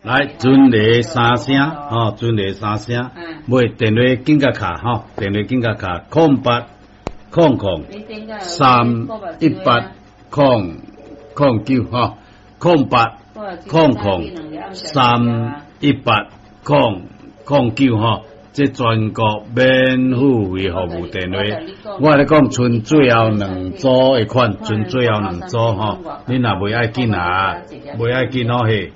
來，陣雷三聲，吼，陣雷三聲，買電話緊共敲，吼，電話緊共敲，0800 318 009，吼，0800 318 009，吼，這全國免付費服務電話，我共你講，賰最後兩組的款，賰最後兩組吼，你若袂愛緊啊，袂愛緊哦嘿，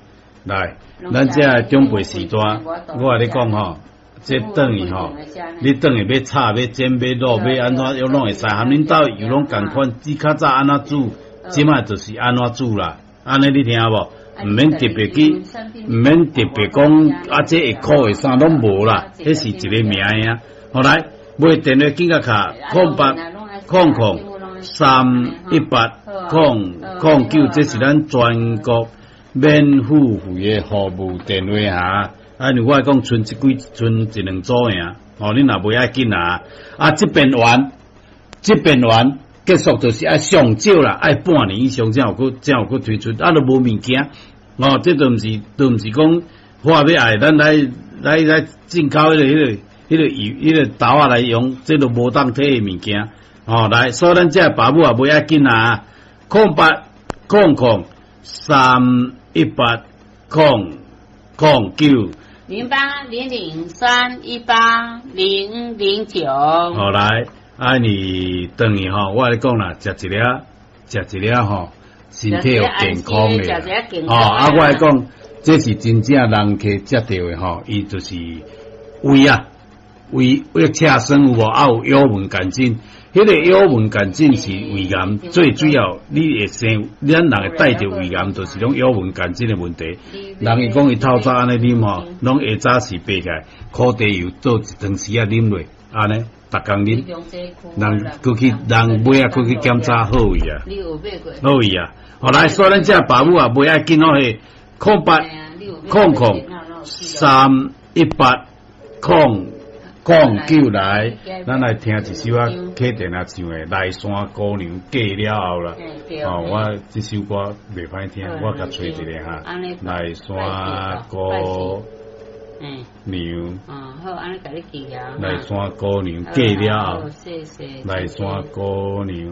來，咱這个長輩時代，我共你講吼，這轉去吼，你轉去欲炒、欲煎、欲滷、欲按怎，攏會使，含恁兜油攏仝款，你較早按怎煮，這擺就是按怎煮啦，按呢你聽無？毋免特別去，毋免特別講啊，這會苦會啥攏無啦，彼是一个名爾。好來，買電話緊共敲0800 318 009，這是咱全國免付費的服務電話哈。啊，因為我講賰這幾賰一兩組爾，哦，你若袂愛緊啊，啊，這邊完，這邊完結束就是愛上少啦，愛半年以上才有閣才有閣推出，啊，都無物件，哦，這都毋是都毋是講話欲愛咱來來來進口彼個彼個彼個油彼個豆仔來用，這都無當提的物件，哦，來，所以咱這爸母也袂愛緊啊，0800 318 009。 0800318009。好來，啊你轉去吼，我共你講啦，食一粒，食一粒吼，身體有健康的。哦，啊，我來講，這是真正人客食著的吼，伊就是胃啊，胃胃赤酸有無？啊有幽門桿菌，彼個幽門桿菌是胃癌最主要，你會生，咱人會帶著胃癌，就是攏幽門桿菌的問題。人伊講伊透早按呢啉吼，攏下早時爬起來，苦茶油做一湯匙仔啉落，按呢，逐工啉，人閣去人尾仔閣去檢查好位啊，好位啊。後來所以咱這爸母啊，袂愛緊哦，彼0800 318 009來，咱來聽一首啊，客電啊唱的《內山姑娘嫁了後》啦。哦，我這首歌袂歹聽，我共揣一下哈。內山姑娘，哦，好，按呢共你記啊。內山姑娘嫁了後，內山姑娘。